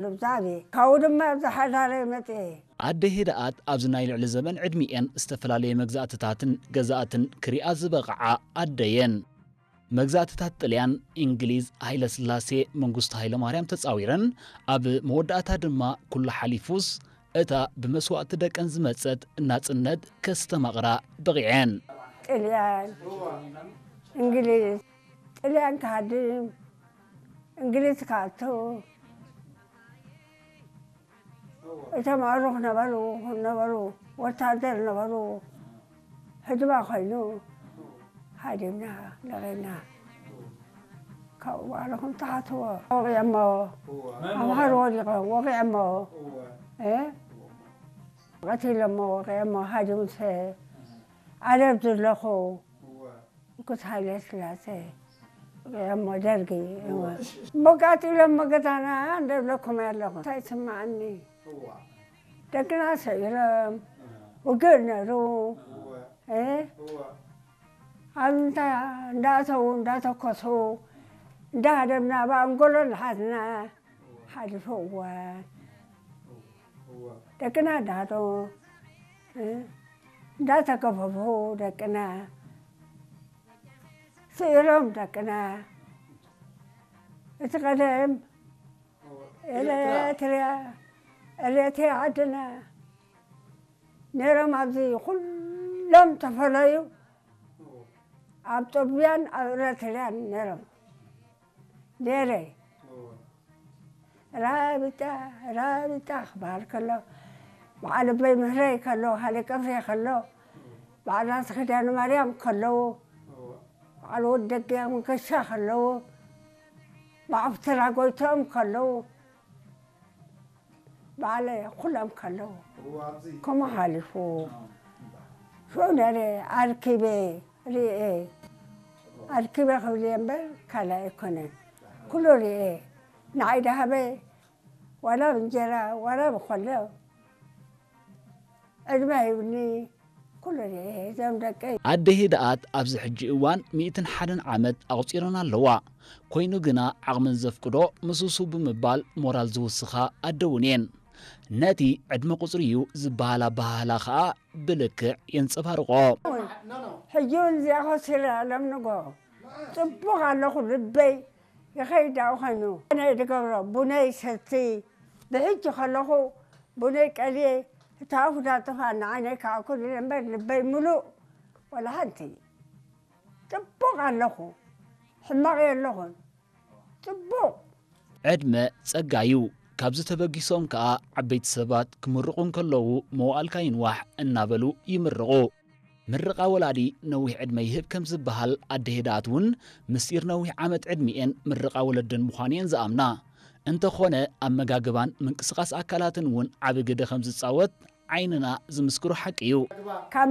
ልብዛቤ ካብኡ ድማ ኣብዚ ሓዳረ መፅኤ። ኣደ ህድኣት ኣብዚ ናይ ልዕሊ ዘበን ዕድሚኤን ዝተፈላለየ መግዛእትታትን ገዛእትን ክሪኣ ዝበቕዓ ኣደየን። መግዛእትታት ጥልያን፣ እንግሊዝ፣ ሃይለስላሴ፣ መንግስቱ ሃይለማርያም ተጻዊረን፣ ኣብ መወዳእታ ድማ ኩሉ ሓሊፉስ እታ ብመስዋእቲ ደቀን ዝመጸት ናጽነት ከስተማቕራ በቒዐን። ጥልያን፣ እንግሊዝ፣ ጥልያን ክሃድም፣ እንግሊዝ ክኣቱ፣ እቶም ኣዕሩኽ ነበሩ፣ ነበሩ፣ ወታደር ነበሩ፣ ህድማ ኮይኑ ሃዲምና፣ ለቒና። ካብኡ በዓልኹም ትሓትዎ። ወቒዐሞ፣ ኣምሃር ወዲቖም፣ ወቒዐሞ፣ እ? ቀቲሎሞ፣ ወቒዐሞ፣ ሃዲሙሰ፣ ዓረብ ዘለኹ። ንጉስ ሃይለ ስላሴ እሞ ደርጊ እሞ። እሞ ቀጺሎም እሞ ገዛና እንደብለኩም ኣለኹ እንታይ ይስማዓኒ። ደቅና ሰዒሮም ውግእ ነሩ። እ? ኣብ እንዳ እንዳእተዉ እንዳተኮሱ እንዳሃደምና ብኣንጎሎ እናሓዝና ሓሊፉ እዋን። ደቅና እንዳሃደሙ እ? እንዳተገፈፉ ደቅና ስኢሮም ደቅና። እቲ ቀደም ኤሌትርያ ኤሌትርያ ዓድና ነይሮም ኣብዚ ኩሎም ተፈለዩ ኣብ ጦብያን ኣብ ኤሌትርያን ነይሮም ነይረ። ራቢጣ ራቢጣ ክበሃል ከሎ በዓል ኣቦይ ምህረይ ከለዉ ሃለ ቀፍሬ ከሎ በዓል ራስ ኪዳነ ማርያም ከለዉ በዓል ወዲ ደገ መንገሻ ከለዉ በዓል ፍትራ ጎይትኦም ከለዉ በዓል ኩሎም ከለዉ ከምኡ ሓሊፉ ሽዑ ነረ ኣርኪበ ርእየ ኣርኪበ ክብል እየ እምበር ካልእ ኣይኮነን ኩሉ ርእየ ንዓይ ደሃበ ዋላ ብእንጀራ ዋላ ብኮሎ ዕድመ ሂብኒ ኩሉ ርኤ እዞም ደቀይ። ኣደ ህድኣት ኣብዚ ሕጂ እዋን ሚእትን ሓደን ዓመት ኣቑጺረን ኣለዋ። ኮይኑ ግና ዓቕመን ዘፍቅዶ ምስሱ ብምባል ሞራል ዝውስኻ ኣደ እውን እየን። ነቲ ዕድመ ቁጽሪ እዩ ዝበሃል ኣበሃህላ ከኣ ብልክዕ የንጸባርቖ። ሕጂ እውን እዚኣ ኮሲራ ሎም ንጎ ጽቡቕ ኣለኹ ልበይ ይኸይድ ዳኡ ኸይኑ ኣነ ድገብሮ ቡነይ ሰቲ ብሕጂ ከለኹ ቡነይ ቀልየ እታ ኣፉ ዳጥፋ ንዓይነይ ከዓ ኩሉ እምበር ልበይ ሙሉእ ወላ ሓንቲ ጽቡቕ ኣለኹ ሕማቕ የለኹን ጽቡቕ ዕድመ ጸጋ እዩ። ካብዚ ተበጊሶም ከኣ ዓበይቲ ሰባት ክምርቑ እንከለዉ መዋእልካ ይንዋሕ እናበሉ ይምርቑ። ምርቓ ወላዲ ነዊሕ ዕድመ ይህብ ከም ዝበሃል ኣደ ህድኣት እውን ምስጢር ነዊሕ ዓመት ዕድሚኤን ምርቓ ወለደን ምዃኑ እየን ዝኣምና። እንተኾነ ኣመጋግባን ምንቅስቓስ ኣካላትን እውን ዓቢ ግደ ከም ዝጻወት ዓይንና ዝምስክሮ ሓቂ እዩ። ካብ